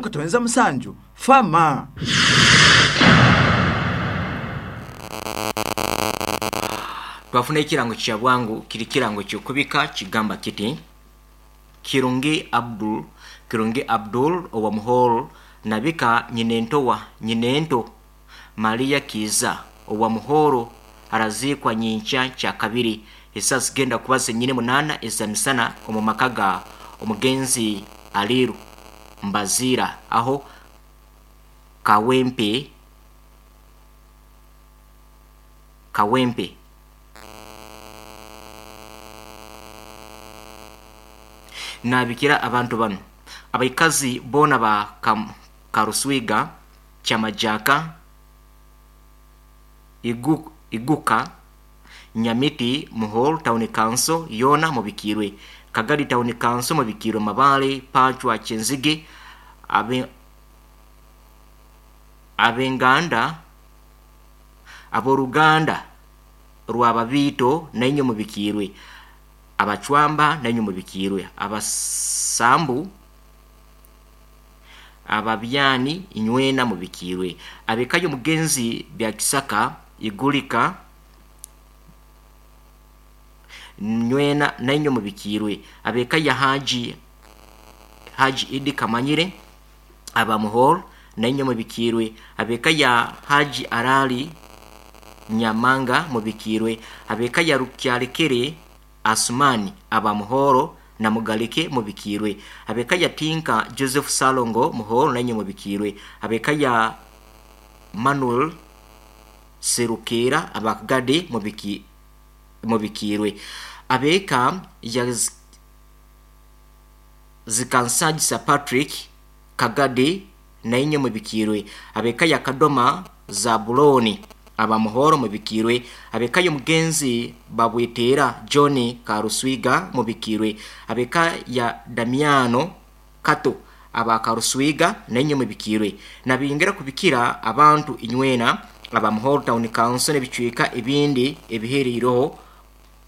Katonyeza musanju fama. Twafuna ekirango kya bwangu kiri kirango kyokubika kigamba kiti Kirungi Abdul Kirungi Abdul owa Muhoro nabika nyinentowa nyinento Maria Kiiza owa Muhoro araziikwa nyinkya kyakabiri esaaha zigenda kuba zenyine munaana ezamisana omu maka ga omugenzi Aliru Mbaziira aho Kawempe Kawempe. Nabikira abantu banu abaikazi boona ba Karuswiga, Kyamajaka, Iguka, Nyamiti, Muhoro Town Council yoona mubikiirwe, Kagadi Town Council mubikiirwe, Mabale, Pacwa, Kyenzige, ab'enganda ab'oruganda rw'ababiito nainywe mubikiirwe, Abacwamba nainywe mubikiirwe, Abasambu, Ababyani inywena mubikiirwe, ab'eka y'omugenzi Byakisaka, Igulika, nywena nainywe mubikiirwe, ab'eka ya Haji Haji Idi Kamanyire, aba Muhoro nainywe mubikiirwe, ab'eka ya Haji Arali Nyamanga mubikiirwe, ab'eka ya Rukyalekere Asumani aba Muhoro na Mugalike mubikiirwe, ab'eka ya Tinka Joseph Salongo Muhoro nainywe mubikiirwe, ab'eka ya Manuel Serukeera aba Kagadi mubikiirwe, ab'eka ya Zikansagisa Patrick Kagadi nainywe mubikiirwe, ab'eka ya Kadoma Zabulooni aba Muhoro mubikiirwe, ab'eka y'omugenzi Babweteera John Karuswiga mubikiirwe, ab'eka ya Damiano Kato aba Karuswiga nainywe mubikiirwe. Nabingira kubikira abantu inywena aba Muhoro Town Council n'ebicweka ebindi ebihereireho.